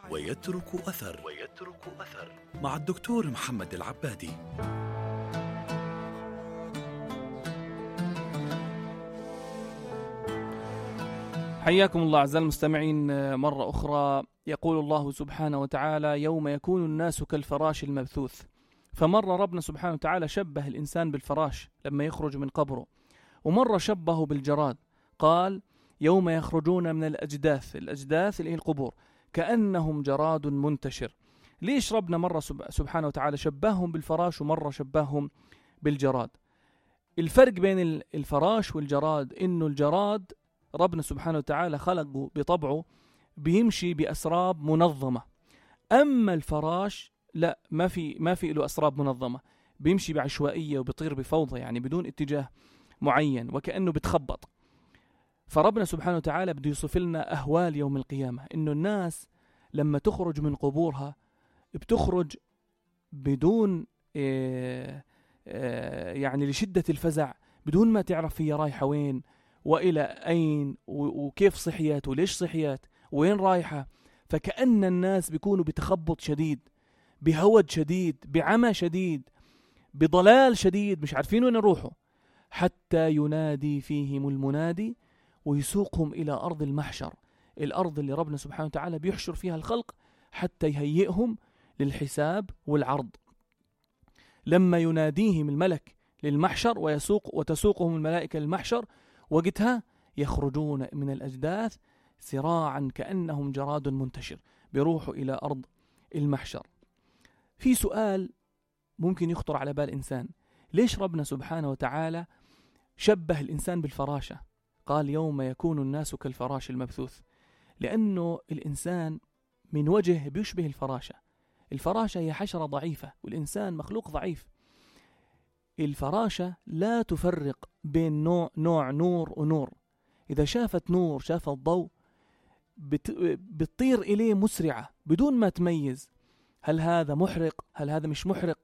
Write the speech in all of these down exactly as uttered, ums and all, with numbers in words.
ويترك أثر ويترك أثر مع الدكتور محمد العبادي. حياكم الله أعزائي المستمعين مرة أخرى. يقول الله سبحانه وتعالى: يوم يكون الناس كالفراش المبثوث. فمرة ربنا سبحانه وتعالى شبه الإنسان بالفراش لما يخرج من قبره، ومرة شبهه بالجراد، قال: يوم يخرجون من الأجداث، الأجداث اللي هي القبور، كأنهم جراد منتشر. ليش ربنا مرة سبحانه وتعالى شبههم بالفراش ومرة شبههم بالجراد؟ الفرق بين الفراش والجراد إنه الجراد ربنا سبحانه وتعالى خلقه بطبعه بيمشي بأسراب منظمة، أما الفراش لا، ما في ما في له أسراب منظمة، بيمشي بعشوائية وبيطير بفوضى، يعني بدون اتجاه معين وكأنه بتخبط. فربنا سبحانه وتعالى بده يوصف لنا أهوال يوم القيامة، إنه الناس لما تخرج من قبورها بتخرج بدون إيه إيه يعني لشدة الفزع، بدون ما تعرف هي رايحة وين وإلى أين وكيف صحيات وليش صحيات وين رايحة. فكأن الناس بيكونوا بتخبط شديد، بهود شديد، بعمى شديد، بضلال شديد، مش عارفين وين يروحوا، حتى ينادي فيهم المنادي ويسوقهم إلى أرض المحشر، الأرض اللي ربنا سبحانه وتعالى بيحشر فيها الخلق حتى يهيئهم للحساب والعرض. لما يناديهم الملك للمحشر ويسوق وتسوقهم الملائكة للمحشر، وقتها يخرجون من الأجداث سراعا كأنهم جراد منتشر، بيروحوا إلى أرض المحشر. في سؤال ممكن يخطر على بال إنسان: ليش ربنا سبحانه وتعالى شبه الإنسان بالفراشة؟ قال: يوم يكون الناس كالفراش المبثوث. لأنه الإنسان من وجه بيشبه الفراشة. الفراشة هي حشرة ضعيفة والإنسان مخلوق ضعيف. الفراشة لا تفرق بين نوع, نوع نور ونور. إذا شافت نور، شافت ضوء، بت... بتطير إليه مسرعة بدون ما تميز هل هذا محرق هل هذا مش محرق.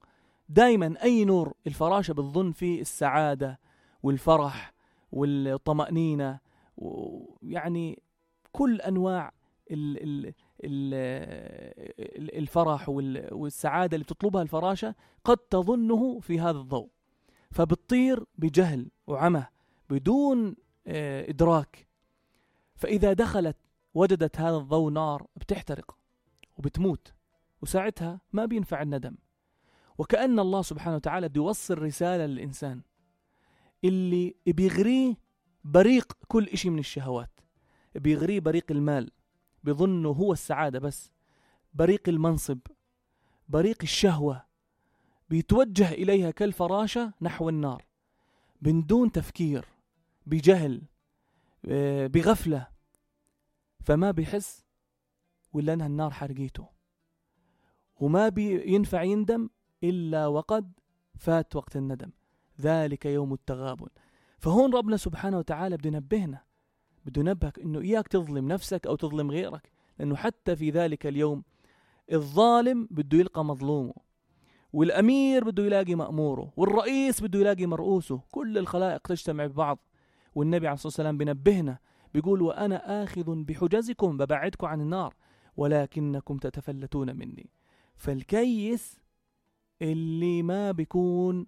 دايما أي نور الفراشة بتظن فيه السعادة والفرح والطمأنينة، ويعني كل أنواع ال... ال... ال... الفرح والسعادة اللي بتطلبها الفراشة قد تظنه في هذا الضوء، فبتطير بجهل وعمى بدون إدراك. فإذا دخلت وجدت هذا الضوء نار، بتحترق وبتموت، وساعتها ما بينفع الندم. وكأن الله سبحانه وتعالى بده يوصل رسالة للإنسان اللي بيغريه بريق كل إشي من الشهوات، بيغريه بريق المال، بيظنه هو السعادة بس، بريق المنصب، بريق الشهوة، بيتوجه إليها كالفراشة نحو النار بدون تفكير، بجهل، بغفلة، فما بيحس ولا أنها النار حرقيته، وما بينفع يندم إلا وقد فات وقت الندم، ذلك يوم التغابن. فهون ربنا سبحانه وتعالى بده ينبهنا، بده ينبهك إنه إياك تظلم نفسك أو تظلم غيرك، لأنه حتى في ذلك اليوم الظالم بده يلقى مظلومه، والأمير بده يلاقي مأموره، والرئيس بده يلاقي مرؤوسه، كل الخلائق تجتمع ببعض. والنبي عليه الصلاة والسلام بنبهنا بيقول: وأنا آخذ بحجزكم، ببعدكم عن النار ولكنكم تتفلتون مني. فالكيس اللي ما بيكون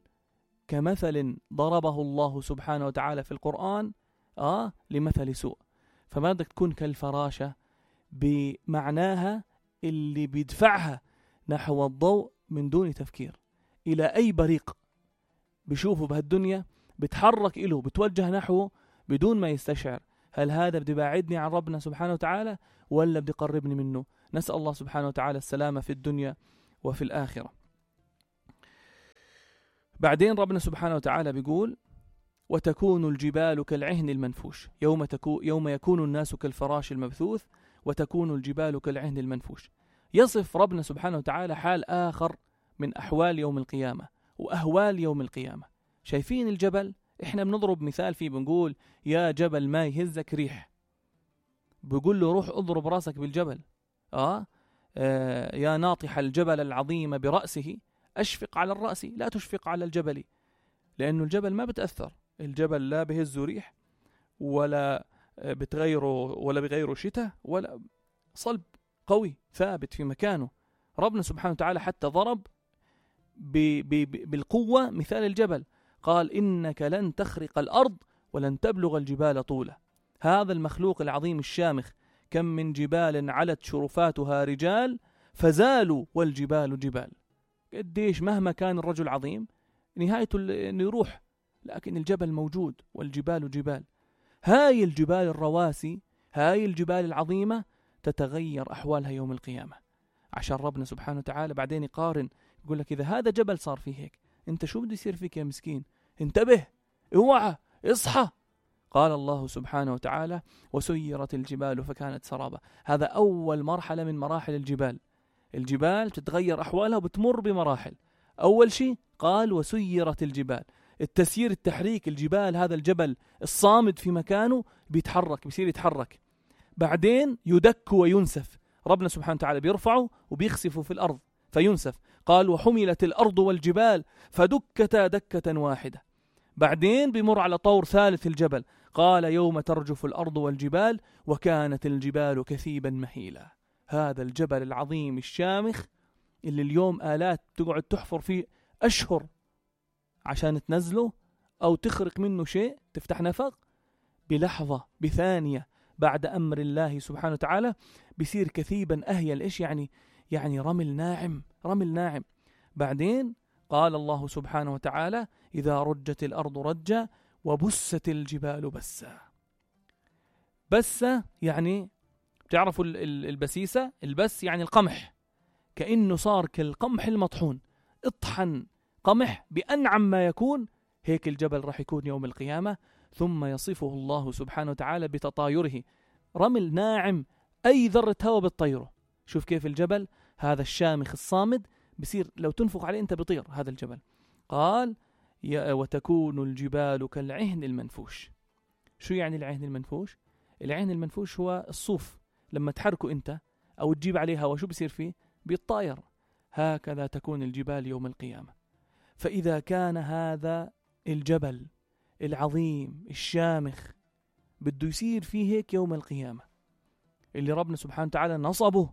كمثل ضربه الله سبحانه وتعالى في القرآن آه لمثل سوء. فما بدك تكون كالفراشة بمعناها اللي بيدفعها نحو الضوء من دون تفكير إلى أي بريق بيشوفه بهالدنيا، بتحرك إله، بتوجه نحوه بدون ما يستشعر هل هذا بدي باعدني عن ربنا سبحانه وتعالى ولا بدي قربني منه. نسأل الله سبحانه وتعالى السلامة في الدنيا وفي الآخرة. بعدين ربنا سبحانه وتعالى بيقول: وتكون الجبال كالعهن المنفوش. يوم, تكو يوم يكون الناس كالفراش المبثوث وتكون الجبال كالعهن المنفوش. يصف ربنا سبحانه وتعالى حال آخر من أحوال يوم القيامة وأهوال يوم القيامة. شايفين الجبل؟ إحنا بنضرب مثال فيه، بنقول: يا جبل ما يهزك ريح، بيقول له روح اضرب راسك بالجبل. آه, آه يا ناطح الجبل العظيم برأسه أشفق على الرأس لا تشفق على الجبل. لأنه الجبل ما بتأثر، الجبل لا بهزه ريح ولا بتغيره ولا بغيره شتاء ولا صلب قوي ثابت في مكانه. ربنا سبحانه وتعالى حتى ضرب ب ب بالقوة مثال الجبل، قال إنك لن تخرق الأرض ولن تبلغ الجبال طولا. هذا المخلوق العظيم الشامخ كم من جبال علت شرفاتها رجال فزالوا والجبال جبال. قديش مهما كان الرجل عظيم نهايته انه يروح، لكن الجبل موجود والجبال جبال. هاي الجبال الرواسي، هاي الجبال العظيمة تتغير أحوالها يوم القيامة، عشان ربنا سبحانه وتعالى بعدين يقارن، يقول لك إذا هذا جبل صار فيه هيك، انت شو بده يصير فيك يا مسكين؟ انتبه، اوعى، اصحى. قال الله سبحانه وتعالى وسيرت الجبال فكانت سرابا. هذا أول مرحلة من مراحل الجبال. الجبال تتغير أحوالها وبتمر بمراحل. أول شيء قال وسيرت الجبال، التسيير التحريك، الجبال هذا الجبل الصامد في مكانه بيتحرك، بيصير يتحرك. بعدين يدك وينسف، ربنا سبحانه وتعالى بيرفعه وبيخسفه في الأرض فينسف. قال وحملت الأرض والجبال فدكتا دكة واحدة. بعدين بيمر على طور ثالث الجبل، قال يوم ترجف الأرض والجبال وكانت الجبال كثيبا مهيلا. هذا الجبل العظيم الشامخ اللي اليوم آلات تقعد تحفر فيه أشهر عشان تنزله أو تخرق منه شيء، تفتح نفق، بلحظة بثانية بعد أمر الله سبحانه وتعالى بيصير كثيبا أهيل. إيش يعني؟ يعني رمل ناعم، رمل ناعم. بعدين قال الله سبحانه وتعالى إذا رجت الأرض رجا وبست الجبال بسا. بسة يعني بتعرفوا البسيسة، البس يعني القمح، كأنه صار كالقمح المطحون، اطحن قمح بأنعم ما يكون. هيك الجبل راح يكون يوم القيامة. ثم يصفه الله سبحانه وتعالى بتطايره، رمل ناعم أي ذرة هواء بتطيره. شوف كيف الجبل هذا الشامخ الصامد بصير لو تنفق عليه أنت بيطير هذا الجبل. قال وتكون الجبال كالعهن المنفوش. شو يعني العهن المنفوش؟ العهن المنفوش هو الصوف، لما تحركه أنت أو تجيب عليه هواء شو بصير فيه؟ بيتطاير. هكذا تكون الجبال يوم القيامة. فإذا كان هذا الجبل العظيم الشامخ بده يصير فيه هيك يوم القيامة، اللي ربنا سبحانه وتعالى نصبه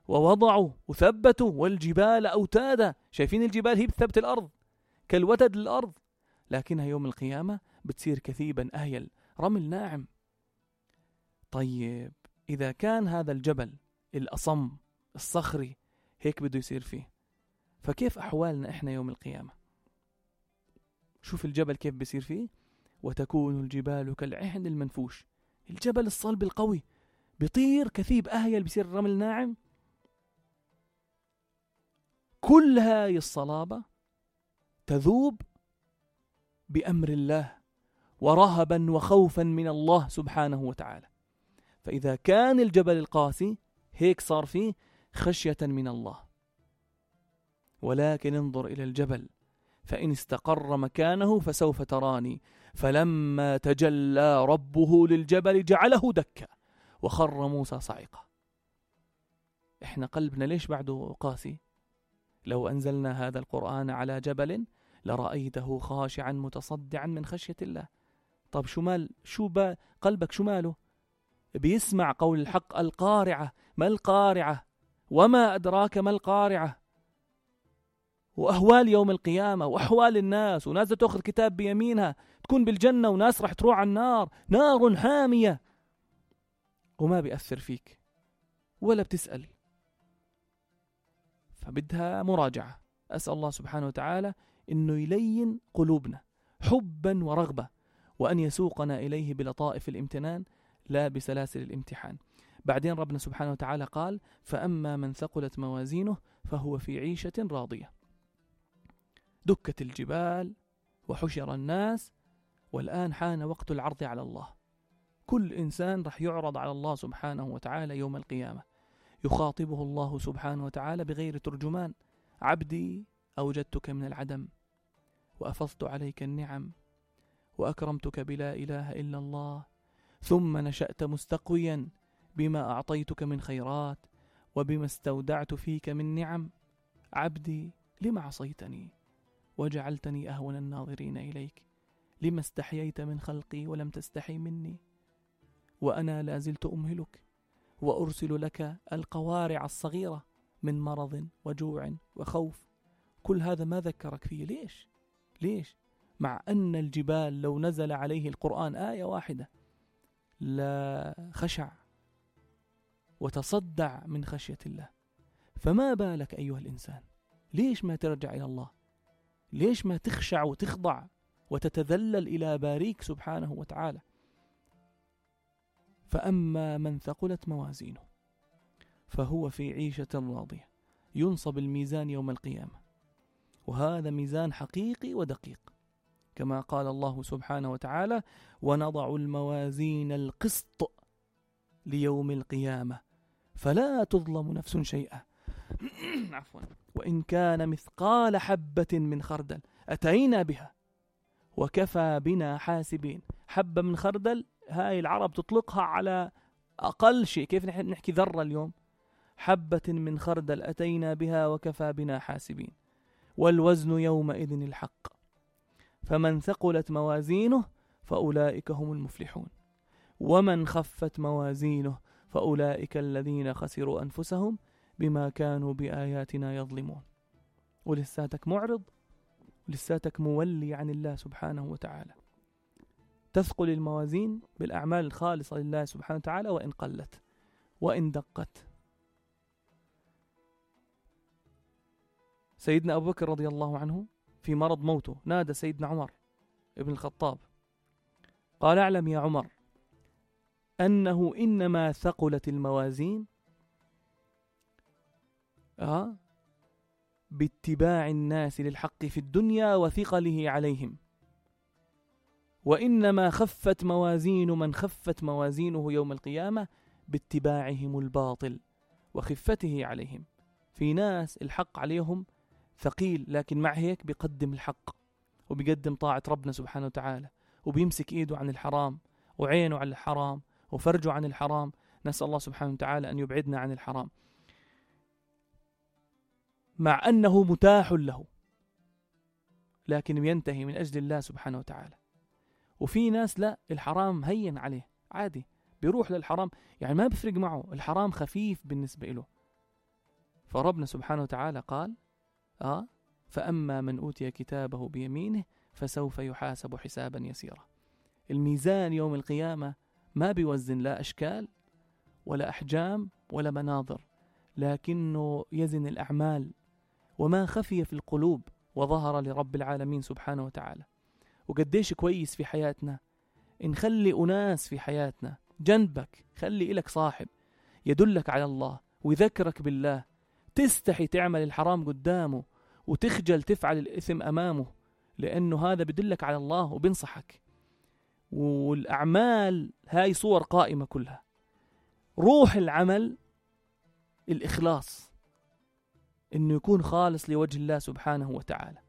ووضعه وثبته، والجبال أوتادا. شايفين الجبال هي بتثبت الأرض كالوتد للأرض، لكنها يوم القيامة بتصير كثيبا أهيل، رمل ناعم. طيب إذا كان هذا الجبل الأصم الصخري هيك بده يصير فيه، فكيف أحوالنا إحنا يوم القيامة؟ شوف الجبل كيف بيصير فيه. وتكون الجبال كالعهن المنفوش، الجبل الصلب القوي بيطير كثيب أهيل، بيصير رمل ناعم. كل هاي الصلابة تذوب بأمر الله ورهبا وخوفا من الله سبحانه وتعالى. فإذا كان الجبل القاسي هيك صار فيه خشية من الله. ولكن انظر إلى الجبل فإن استقر مكانه فسوف تراني فلما تجلى ربه للجبل جعله دكا وخر موسى صعقا. إحنا قلبنا ليش بعده قاسي؟ لو أنزلنا هذا القرآن على جبل لرأيته خاشعا متصدعا من خشية الله. طب شو مال شو با قلبك شو ماله؟ بيسمع قول الحق القارعة. ما القارعة؟ وما أدراك ما القارعة؟ وأهوال يوم القيامة وأحوال الناس، وناس تأخذ كتاب بيمينها تكون بالجنة، وناس راح تروح على النار، نار حامية، وما بيأثر فيك ولا بتسأل. فبدها مراجعة. أسأل الله سبحانه وتعالى إنه يلين قلوبنا حبا ورغبة، وأن يسوقنا إليه بلطائف الامتنان لا بسلاسل الامتحان. بعدين ربنا سبحانه وتعالى قال فأما من ثقلت موازينه فهو في عيشة راضية. دكت الجبال وحشر الناس، والآن حان وقت العرض على الله. كل إنسان رح يعرض على الله سبحانه وتعالى يوم القيامة. يخاطبه الله سبحانه وتعالى بغير ترجمان: عبدي أوجدتك من العدم وأفضت عليك النعم وأكرمتك بلا إله إلا الله، ثم نشأت مستقويا بما أعطيتك من خيرات وبما استودعت فيك من نعم. عبدي لم عصيتني وجعلتني أهون الناظرين إليك؟ لما استحييت من خلقي ولم تستحي مني؟ وأنا لازلت أمهلك وأرسل لك القوارع الصغيرة من مرض وجوع وخوف. كل هذا ما ذكرك فيه. ليش؟ ليش؟ مع أن الجبال لو نزل عليه القرآن آية واحدة لا خشع وتصدع من خشية الله. فما بالك أيها الإنسان؟ ليش ما ترجع إلى الله؟ ليش ما تخشع وتخضع وتتذلل إلى باريك سبحانه وتعالى؟ فأما من ثقلت موازينه فهو في عيشة راضية. ينصب الميزان يوم القيامة، وهذا ميزان حقيقي ودقيق، كما قال الله سبحانه وتعالى: ونضع الموازين القسط ليوم القيامة فلا تظلم نفس شيئا عفوا وإن كان مثقال حبة من خردل أتينا بها وكفى بنا حاسبين. حبة من خردل هاي العرب تطلقها على أقل شيء. كيف نحن نحكي ذرة اليوم؟ حبة من خردل أتينا بها وكفى بنا حاسبين. والوزن يومئذ الحق فمن ثقلت موازينه فأولئك هم المفلحون ومن خفت موازينه فأولئك الذين خسروا أنفسهم بما كانوا بآياتنا يظلمون. ولساتك معرض، ولساتك مولي عن الله سبحانه وتعالى. تثقل الموازين بالأعمال الخالصة لله سبحانه وتعالى وإن قلت وإن دقت. سيدنا أبو بكر رضي الله عنه في مرض موته نادى سيدنا عمر ابن الخطاب قال: اعلم يا عمر أنه إنما ثقلت الموازين آه باتباع الناس للحق في الدنيا وثقله عليهم، وإنما خفت موازين من خفت موازينه يوم القيامة باتباعهم الباطل وخفته عليهم. في ناس الحق عليهم ثقيل، لكن مع هيك بيقدم الحق وبيقدم طاعة ربنا سبحانه وتعالى، وبيمسك إيده عن الحرام وعينه عن الحرام وفرجه عن الحرام. نسأل الله سبحانه وتعالى أن يبعدنا عن الحرام، مع أنه متاح له لكن ينتهي من أجل الله سبحانه وتعالى. وفي ناس لا، الحرام هين عليه عادي، بيروح للحرام يعني ما بفرق معه، الحرام خفيف بالنسبة له. فربنا سبحانه وتعالى قال: آه فأما من أوتي كتابه بيمينه فسوف يحاسب حسابا يسيرا. الميزان يوم القيامة ما بيوزن لا أشكال ولا أحجام ولا مناظر، لكنه يزن الأعمال وما خفي في القلوب وظهر لرب العالمين سبحانه وتعالى. وقديش كويس في حياتنا نخلي أناس في حياتنا جنبك، خلي إلك صاحب يدلك على الله ويذكرك بالله، تستحي تعمل الحرام قدامه وتخجل تفعل الإثم أمامه، لأنه هذا بدلك على الله وبنصحك. والأعمال هاي صور قائمة كلها. روح العمل الإخلاص، إنه يكون خالص لوجه الله سبحانه وتعالى.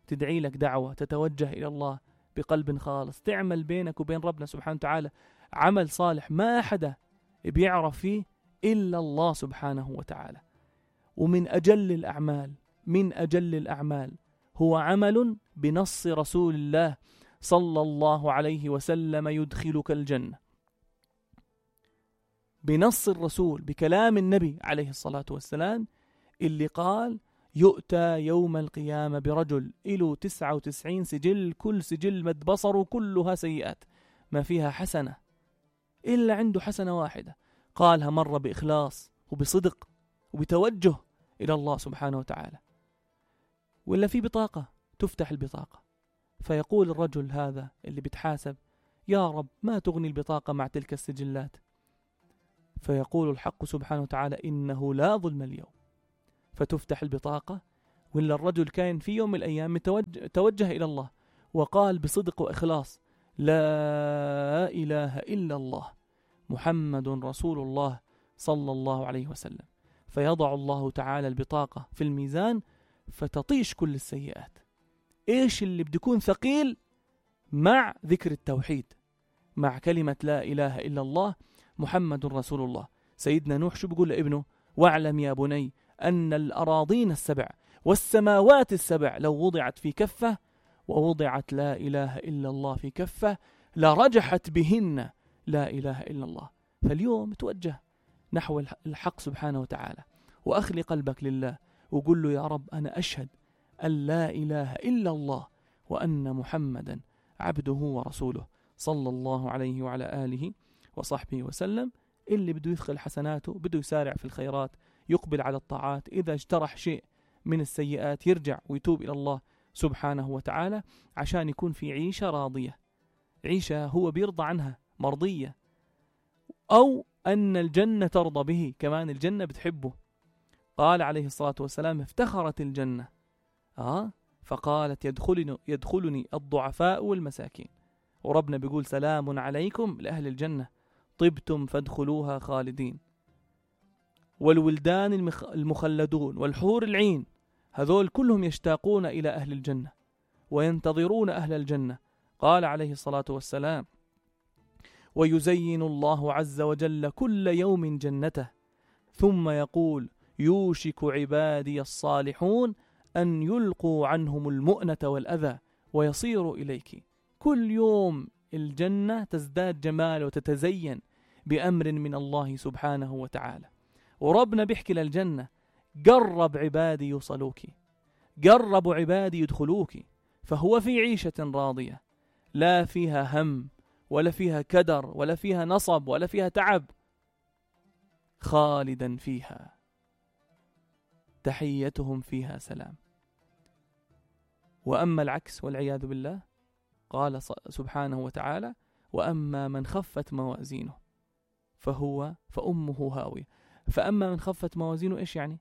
تدعي لك دعوة، تتوجه إلى الله بقلب خالص، تعمل بينك وبين ربنا سبحانه وتعالى عمل صالح ما حدا بيعرف فيه إلا الله سبحانه وتعالى. ومن أجل الأعمال من أجل الأعمال هو عمل بنص رسول الله صلى الله عليه وسلم يدخلك الجنة، بنص الرسول بكلام النبي عليه الصلاة والسلام اللي قال: يؤتى يوم القيامة برجل إله تسعة وتسعين سجل، كل سجل مد بصره كلها سيئات، ما فيها حسنة إلا عنده حسنة واحدة قالها مرة بإخلاص وبصدق وبتوجه إلى الله سبحانه وتعالى. ولا في بطاقة تفتح البطاقة فيقول الرجل هذا اللي بتحاسب: يا رب ما تغني البطاقة مع تلك السجلات. فيقول الحق سبحانه وتعالى: إنه لا ظلم اليوم. فتفتح البطاقة، ولا الرجل كان في يوم من الأيام توجه, توجه إلى الله وقال بصدق وإخلاص: لا إله إلا الله محمد رسول الله صلى الله عليه وسلم. فيضع الله تعالى البطاقة في الميزان فتطيش كل السيئات. إيش اللي بده يكون ثقيل؟ مع ذكر التوحيد، مع كلمة لا إله إلا الله محمد رسول الله. سيدنا نوح شو بيقول لابنه؟ واعلم يا بني أن الأراضين السبع والسماوات السبع لو وضعت في كفة ووضعت لا إله إلا الله في كفة لرجحت بهن لا إله إلا الله. فاليوم توجه نحو الحق سبحانه وتعالى، وأخلي قلبك لله وقل له: يا رب أنا أشهد أن لا إله إلا الله وأن محمدا عبده ورسوله صلى الله عليه وعلى آله وصحبه وسلم. اللي بده يدخل حسناته، بده يسارع في الخيرات، يقبل على الطاعات، إذا اجترح شيء من السيئات يرجع ويتوب إلى الله سبحانه وتعالى عشان يكون في عيشة راضية، عيشة هو بيرضى عنها، مرضية، أو أن الجنة ترضى به، كمان الجنة بتحبه. قال عليه الصلاة والسلام: افتخرت الجنة آه فقالت: يدخلني, يدخلني الضعفاء والمساكين. وربنا بيقول: سلام عليكم لأهل الجنة طبتم فادخلوها خالدين. والولدان المخلدون والحور العين هذول كلهم يشتاقون إلى أهل الجنة وينتظرون أهل الجنة. قال عليه الصلاة والسلام: ويزين الله عز وجل كل يوم جنته ثم يقول: يوشك عبادي الصالحون أن يلقوا عنهم المؤنة والأذى ويصيروا إليك. كل يوم الجنة تزداد جمال وتتزين بأمر من الله سبحانه وتعالى. وربنا بيحكي للجنة: قرب عبادي يوصلوك، قربوا عبادي يدخلوك. فهو في عيشة راضية لا فيها هم ولا فيها كدر ولا فيها نصب ولا فيها تعب، خالدا فيها تحيتهم فيها سلام. وأما العكس والعياذ بالله، قال سبحانه وتعالى: وأما من خفت موازينه فهو فأمه هاوية. فأما من خفت موازينه إيش يعني؟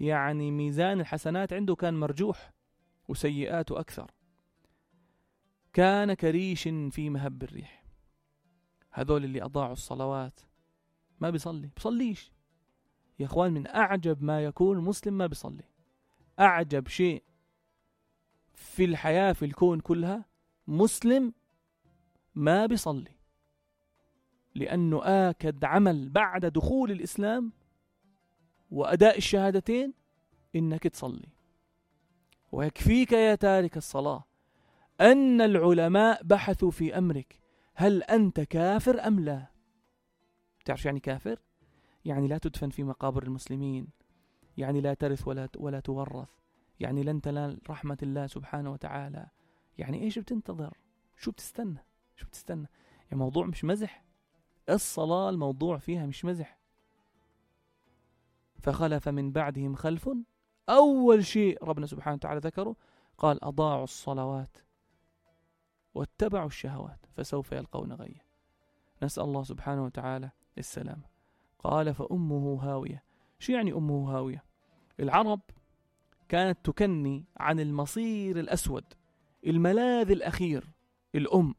يعني ميزان الحسنات عنده كان مرجوح وسيئاته أكثر. كان كريش في مهب الريح. هذول اللي أضاعوا الصلوات، ما بيصلي، بيصليش يا أخوان. من أعجب ما يكون مسلم ما بيصلي. أعجب شيء في الحياة في الكون كلها مسلم ما بيصلي، لأنه آكد عمل بعد دخول الإسلام وأداء الشهادتين إنك تصلي. ويكفيك يا تارك الصلاة أن العلماء بحثوا في أمرك: هل أنت كافر أم لا؟ تعرف يعني كافر؟ يعني لا تدفن في مقابر المسلمين، يعني لا ترث ولا ولا تورث، يعني لن تنال رحمة الله سبحانه وتعالى. يعني إيش بتنتظر؟ شو بتستنى؟ شو بتستنى؟ يعني موضوع مش مزح. الصلاة الموضوع فيها مش مزح. فخلف من بعدهم خلف، أول شيء ربنا سبحانه وتعالى ذكره قال: أضاعوا الصلوات واتبعوا الشهوات فسوف يلقون غيا. نسأل الله سبحانه وتعالى السلام. قال: فأمه هاوية. شو يعني أمه هاوية؟ العرب كانت تكني عن المصير الأسود، الملاذ الأخير، الأم،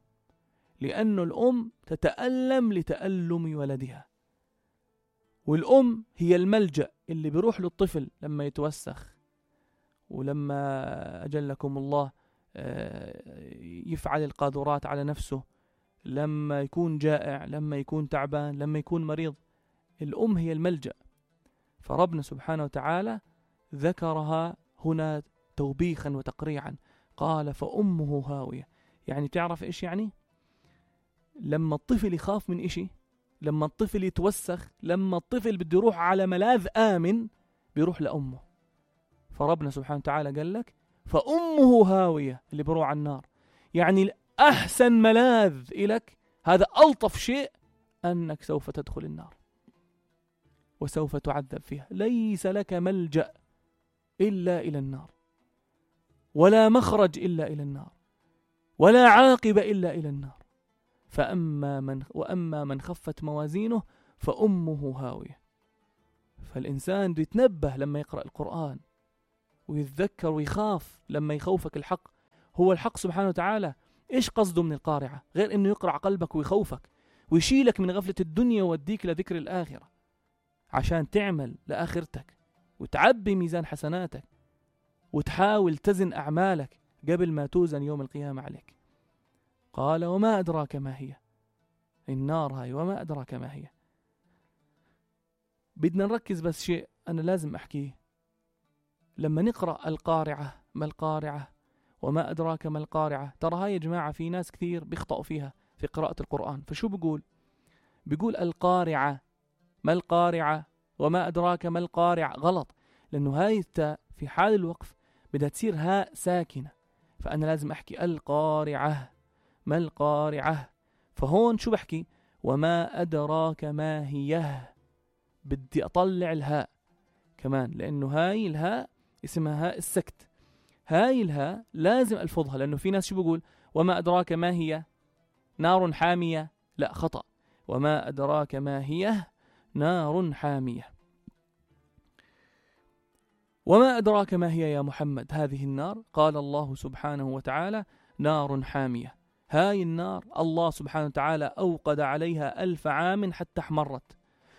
لأن الأم تتألم لتألم ولدها. والأم هي الملجأ اللي بيروح للطفل لما يتوسخ، ولما أجلكم الله يفعل القاذورات على نفسه، لما يكون جائع، لما يكون تعبان، لما يكون مريض. الأم هي الملجأ. فربنا سبحانه وتعالى ذكرها هنا توبيخا وتقريعا. قال: فأمه هاوية. يعني تعرف إيش يعني؟ لما الطفل يخاف من إشي، لما الطفل يتوسخ، لما الطفل بده يروح على ملاذ آمن، بيروح لأمه. فربنا سبحانه وتعالى قال لك: فأمه هاوية، اللي بروح على النار. يعني أحسن ملاذ إلك، هذا ألطف شيء، أنك سوف تدخل النار وسوف تعذب فيها. ليس لك ملجأ إلا إلى النار، ولا مخرج إلا إلى النار، ولا عاقبة إلا إلى النار. فأما من وأما من خفت موازينه فأمه هاوية. فالإنسان بده يتنبه لما يقرأ القرآن، ويتذكر ويخاف لما يخوفك الحق. هو الحق سبحانه وتعالى إيش قصده من القارعة غير إنه يقرع قلبك ويخوفك ويشيلك من غفلة الدنيا ويوديك لذكر الآخرة، عشان تعمل لآخرتك وتعبي ميزان حسناتك وتحاول تزن أعمالك قبل ما توزن يوم القيامة عليك. قال: وما أدراك ما هي. النار هاي وما أدراك ما هي. بدنا نركز بس شيء أنا لازم أحكيه. لما نقرأ القارعة، ما القارعة وما أدراك ما القارعة، ترى هاي يا جماعة في ناس كثير بيخطئوا فيها في قراءة القرآن. فشو بيقول؟ بيقول القارعة ما القارعة، وما أدراك ما القارعة، غلط، لأنه هاي التاء في حال الوقف بدها تصير هاء ساكنة، فأنا لازم أحكي القارعة، ما القارعة. فهون شو بحكي؟ وما أدراك ما هي، بدي أطلع الهاء كمان، لأنه هاي الهاء اسمها هاء السكت، هاي الهاء لازم ألفظها، لأنه في ناس شو بقول وما أدراك ما هي نار حامية، لا خطأ، وما أدراك ما هي نار حامية. وما أدراك ما هي يا محمد هذه النار؟ قال الله سبحانه وتعالى نار حامية. هاي النار الله سبحانه وتعالى أوقد عليها ألف عام حتى احمرت،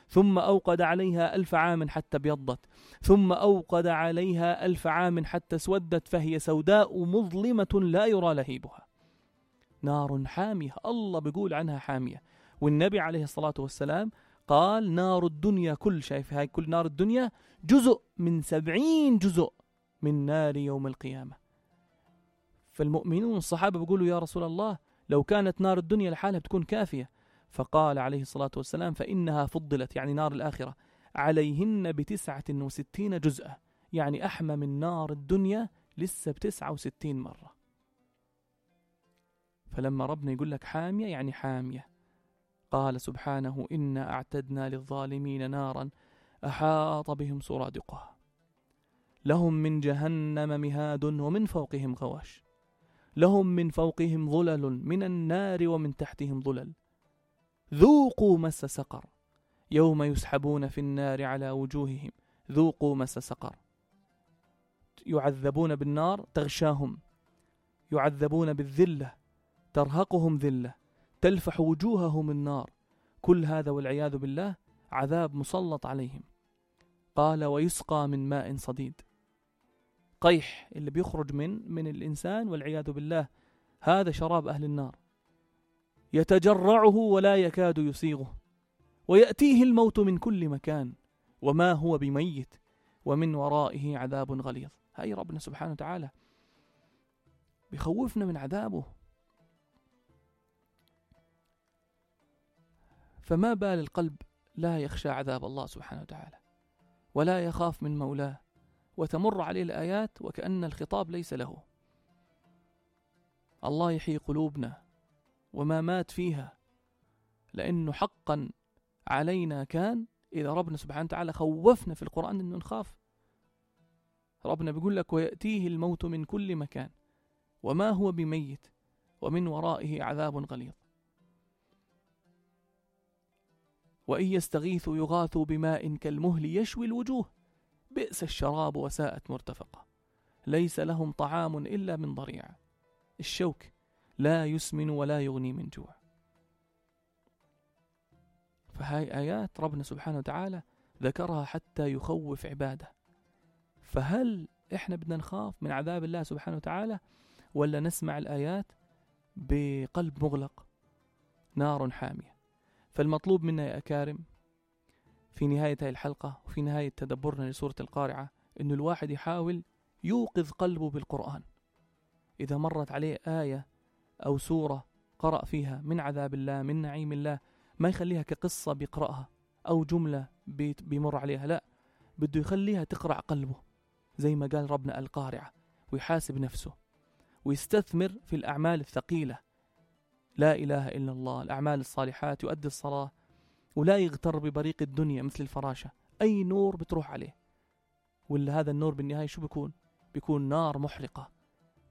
ثم أوقد عليها ألف عام حتى ابيضت، ثم أوقد عليها ألف عام حتى اسودت، فهي سوداء مظلمة لا يرى لهيبها. نار حامية، الله بيقول عنها حامية. والنبي عليه الصلاة والسلام قال نار الدنيا كل، شايف هاي كل نار الدنيا جزء من سبعين جزء من نار يوم القيامة. فالمؤمنون الصحابة بيقولوا يا رسول الله لو كانت نار الدنيا لحالها بتكون كافية، فقال عليه الصلاة والسلام فإنها فضلت، يعني نار الآخرة، عليهن بتسعة وستين جزءا، يعني أحمى من نار الدنيا لسه بتسعة وستين مرة. فلما ربنا يقول لك حامية يعني حامية. قال سبحانه إنا أعتدنا للظالمين نارا أحاط بهم سرادقها لهم من جهنم مهاد ومن فوقهم غواش لهم من فوقهم ظلل من النار ومن تحتهم ظلل ذوقوا مس سقر يوم يسحبون في النار على وجوههم ذوقوا مس سقر. يعذبون بالنار تغشاهم، يعذبون بالذلة ترهقهم ذلة، تلفح وجوههم النار، كل هذا والعياذ بالله عذاب مسلط عليهم. قال ويسقى من ماء صديد، قيح اللي بيخرج من من الإنسان والعياذ بالله، هذا شراب أهل النار، يتجرعه ولا يكاد يسيغه، ويأتيه الموت من كل مكان وما هو بميت ومن ورائه عذاب غليظ. هاي ربنا سبحانه وتعالى بيخوفنا من عذابه. فما بال القلب لا يخشى عذاب الله سبحانه وتعالى ولا يخاف من مولاه، وتمر عليه الآيات وكأن الخطاب ليس له. الله يحيي قلوبنا وما مات فيها، لأنه حقا علينا كان إذا ربنا سبحانه وتعالى خوفنا في القرآن أنه نخاف. ربنا بيقول لك ويأتيه الموت من كل مكان وما هو بميت ومن ورائه عذاب غليظ. وإن يستغيثوا يغاثوا بماء كالمهل يشوي الوجوه بئس الشراب وساءت مرتفقة ليس لهم طعام إلا من ضريع الشوك لا يسمن ولا يغني من جوع. فهاي آيات ربنا سبحانه وتعالى ذكرها حتى يخوف عباده. فهل إحنا بدنا نخاف من عذاب الله سبحانه وتعالى ولا نسمع الآيات بقلب مغلق؟ نار حامية. فالمطلوب منا يا أكارم في نهاية هذه الحلقة وفي نهاية تدبرنا لسورة القارعة إنه الواحد يحاول يوقظ قلبه بالقرآن. إذا مرت عليه آية أو سورة قرأ فيها من عذاب الله من نعيم الله، ما يخليها كقصة بيقرأها أو جملة بيمر عليها، لا، بده يخليها تقرأ قلبه زي ما قال ربنا القارعة، ويحاسب نفسه ويستثمر في الأعمال الثقيلة، لا إله إلا الله، الأعمال الصالحات، يؤدي الصلاة، ولا يغتر ببريق الدنيا مثل الفراشة، أي نور بتروح عليه، ولا هذا النور بالنهاية شو بيكون؟ بيكون نار محرقة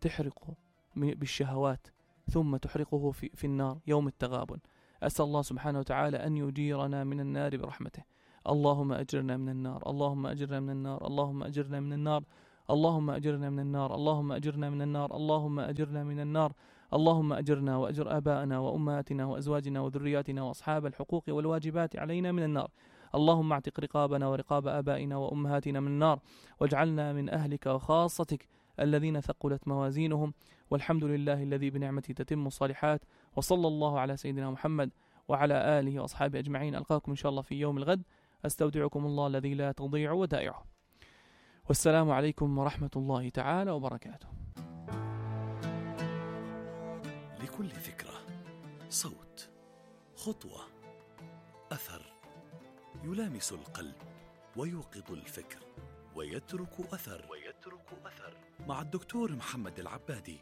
تحرقه بالشهوات ثم تحرقه في, في النار يوم التغابن. أسأل الله سبحانه وتعالى أن يجيرنا من النار برحمته. اللهم أجرنا من النار، اللهم أجرنا من النار، اللهم أجرنا من النار، اللهم أجرنا من النار، اللهم أجرنا من النار، اللهم أجرنا من النار، اللهم أجرنا وأجر آبائنا وأمهاتنا وأزواجنا وذرياتنا وأصحاب الحقوق والواجبات علينا من النار. اللهم اعتق رقابنا ورقاب آبائنا وأمهاتنا من النار، واجعلنا من أهلك وخاصتك الذين ثقلت موازينهم. والحمد لله الذي بنعمته تتم الصالحات. وصلى الله على سيدنا محمد وعلى آله وأصحابه أجمعين. ألقاكم إن شاء الله في يوم الغد. أستودعكم الله الذي لا تضيع ودائعه. والسلام عليكم ورحمة الله تعالى وبركاته. لكل ذكرى صوت، خطوة، أثر، يلامس القلب ويوقظ الفكر ويترك أثر ويترك أثر مع الدكتور محمد العبادي.